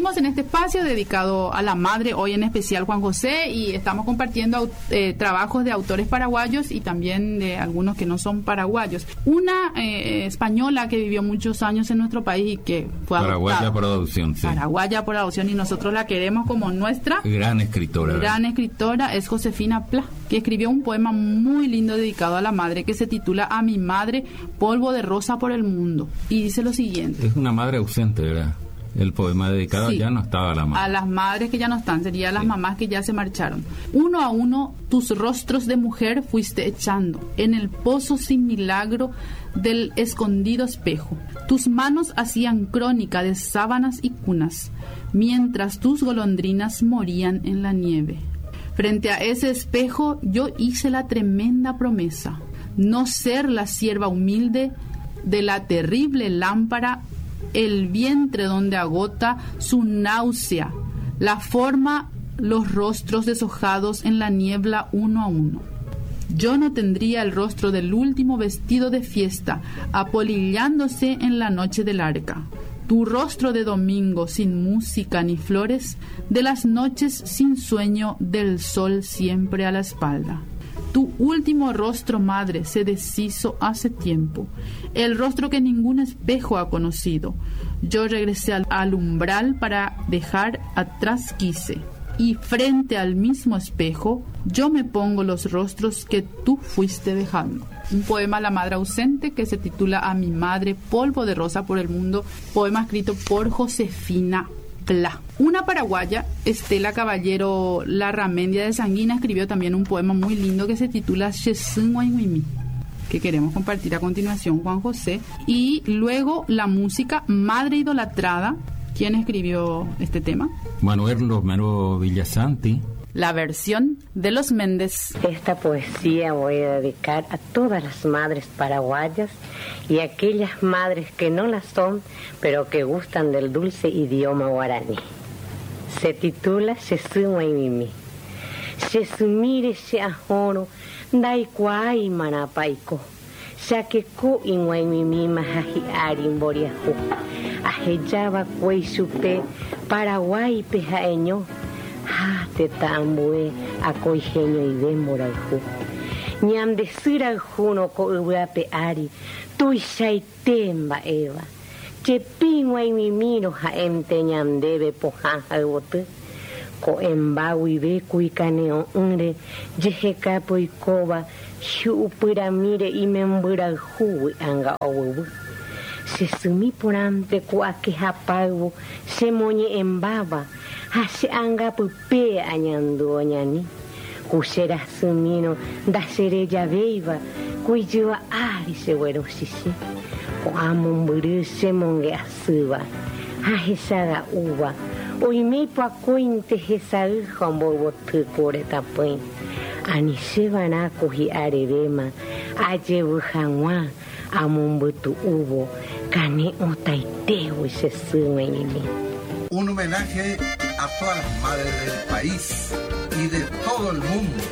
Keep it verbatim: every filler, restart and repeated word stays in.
Seguimos en este espacio dedicado a la madre, hoy en especial Juan José, y estamos compartiendo eh, trabajos de autores paraguayos y también de algunos que no son paraguayos. Una eh, española que vivió muchos años en nuestro país y que fue Paraguaya adoptada. Por adopción, sí. Paraguaya por adopción, y nosotros la queremos como nuestra Gran escritora. Gran escritora es Josefina Pla, que escribió un poema muy lindo dedicado a la madre que se titula A mi madre, polvo de rosa por el mundo. Y dice lo siguiente. Es una madre ausente, ¿verdad? El poema dedicado Sí. ya no estaba la madre. A las madres que ya no están, sería a las Sí. mamás que ya se marcharon. Uno a uno tus rostros de mujer fuiste echando en el pozo sin milagro del escondido espejo. Tus manos hacían crónica de sábanas y cunas, mientras tus golondrinas morían en la nieve. Frente a ese espejo yo hice la tremenda promesa, no ser la sierva humilde de la terrible lámpara, el vientre donde agota su náusea, la forma, los rostros deshojados en la niebla uno a uno. Yo no tendría el rostro del último vestido de fiesta, apolillándose en la noche del arca. Tu rostro de domingo sin música ni flores, de las noches sin sueño, del sol siempre a la espalda. Tu último rostro, madre, se deshizo hace tiempo, el rostro que ningún espejo ha conocido. Yo regresé al, al umbral para dejar atrás quise, y frente al mismo espejo yo me pongo los rostros que tú fuiste dejando. Un poema a la madre ausente que se titula A mi madre, polvo de rosa por el mundo, poema escrito por Josefina Pla. Una paraguaya, Estela Caballero Larramendia de Sanguina, escribió también un poema muy lindo que se titula Che sy g̃uaig̃uimi, que queremos compartir a continuación, Juan José. Y luego la música Madre Idolatrada. ¿Quién escribió este tema? Manuel Romero Villasanti. La versión de los Méndez. Esta poesía voy a dedicar a todas las madres paraguayas y a aquellas madres que no las son, pero que gustan del dulce idioma guaraní. Se titula Che sy g̃uaig̃uimi. Che symíre che ahórõ ndaikuaái marãpa aiko. Chakeko ig̃uaig̃uimíma ha hi'ári mboriahu. Ahejava'ekue ichupe Paraguáipe ha'eño. Ha tetã ambue akói heñoive mborayhu. Ñande sy rayhúrõ ko yvy ape ári tuichaite mba'éva. Chepi g̃uaig̃uimírõ ha'énte ñandéve pohã ha yvoty. Ko'ẽmba guive ku ikane'õ'ỹre jehekápe oikóva hi'upyramíre imembyrayhúgui anga oguyvy. Che symi porãnte ku akehapáyvo chemoñe'ẽmbáva ha che angapype añandu oñani. Ku che rasymírõ ndacherejavéiva ku ijyva ári cheguerochichĩ. Ko'ã mombyry chemonge'asýva ha hechaga'úva oiméipo akóinte hesay ha omboyvoty ku retãpỹi. Ani cheva'erã ku hi'arevéma ajevy hag̃ua amombytu'úvo kane'õtaitégui che sy g̃uaig̃uimi. Un homenaje a todas las madres del país y de todo el mundo.